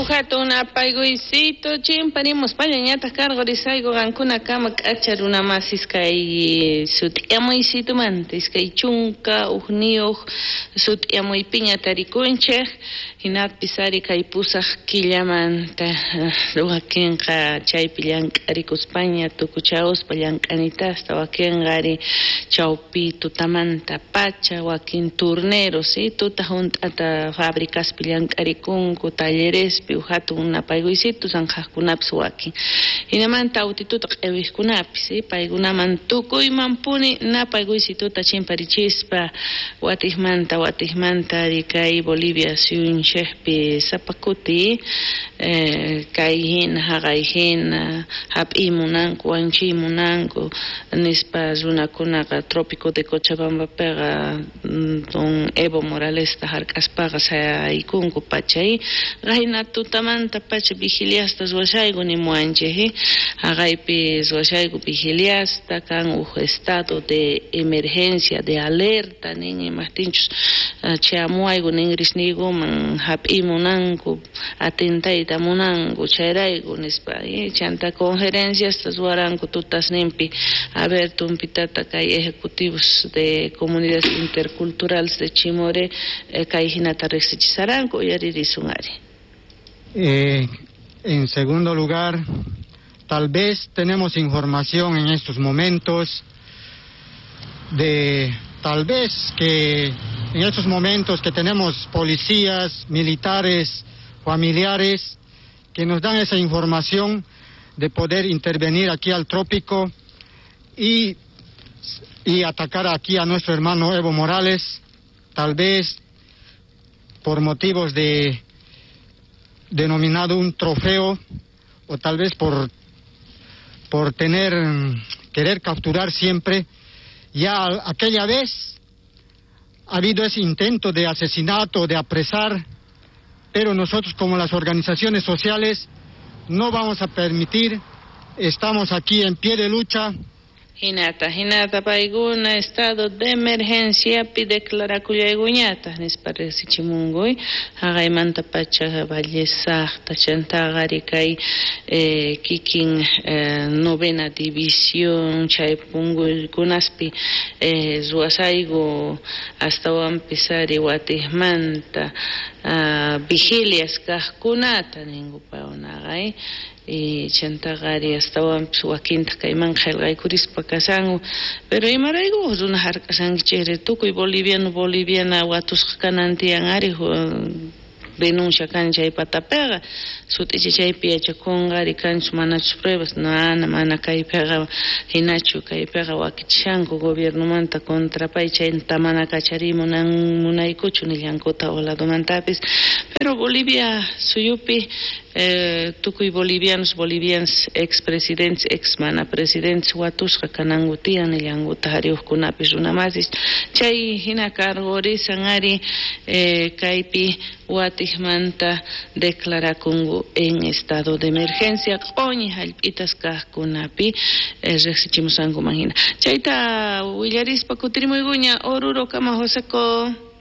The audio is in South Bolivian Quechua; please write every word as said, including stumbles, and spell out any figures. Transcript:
Uhatun napaykuysito chimparimuspaña ñataq karqurisayku qankunakama k'acha runamasis kay sut'iyamuysitumanta iskay chunka ujniyuq sut'iyamuypiña tarikunchik hinapis ari kay pusaq killamanta wakinqa chaypi llank'arikuspaña tukuchawuspa llank'anitasta wakinqa ari chawpi tutamanta pacha wakin turneros tuta hunt'ata fabricaspi llank'arikunku tallerespi hatun napaykuysitu sanqhaqkunapis wakin hinamanta autituta q'iwiqkunapis paykunaman tukuymanpuni napaykuysituta chimparichispa watiqmanta watiqmanta ari kay Bolivia suyunchikpi sapa kuti kay hina haqay hina hap'iy munanku wanchiy munanku nispa runakunaqa trópico de Cochabambapiqa don Evo Moralesta hark'aspaqa sayaykunku pachay qayna tutamanta pacha vigiliasta ruwashayku nimuwanchik haqaypi ruwashayku vigiliasta kan uj estado de emergencia de alerta nin imaqtinchus chayamuwayku ninrisniykuman hap'iy munanku atentayta munanku chayrayku nispa chanta conferenciasta ruwaranku tutasninpi a ver tumpitata kay ejecutivos de comunidades interculturales de Chimoré kay hinata riqsichisaranku uyaririsun ari. Eh, en segundo lugar, tal vez tenemos información en estos momentos de tal vez que en estos momentos que tenemos policías, militares, familiares que nos dan esa información de poder intervenir aquí al trópico y, y atacar aquí a nuestro hermano Evo Morales, tal vez por motivos de denominado un trofeo o tal vez por, por tener, querer capturar siempre. Ya aquella vez ha habido ese intento de asesinato, de apresar, pero nosotros como las organizaciones sociales no vamos a permitir, estamos aquí en pie de lucha. Hinata, hinata paykuna estado de emergencia pi declarakullaykuñataq nispa riqsichimunkuy haqaymanta pacha Valle Saqta chantaqa ari kay eh, kikin eh, novena división chay punkuykunaspi eh, ruwasayku astawanpis ari watiqmanta uh, vigilias kaqkunata ninku paykunaqa eh. Y chantaqa ari astawanpis wakintaq kayman qillqaykurispa kashanku pero imarayku runa hark'ashankichikri tukuy boliviano boliviana watusqa kanan tiyan ari denuncia kan chay patapiqa sut'icha chaypi yachakunqa ari kanchu manachus pruebas mana mana kaypiqa hinachu kaypiqa wakichishanku gobiernomanta contra pay chayta mana kachariy munan munaykuchu nillankuta ladomantapis pero Bolivia suyupi eh, tukuy bolivianos bolivianas expresidentes ex mana presidentes watusqa kananku tiyan nillankuta hariuqkunapis runamasis chay hina karqurisan ari eh, kaypi watiqmanta declarakunku en estado de emergencia q'uñi hallp'itas kaqkunapi eh, riqsichimusankuman hina chayta willarispa kutirimuykuña Oruro kama Joseco.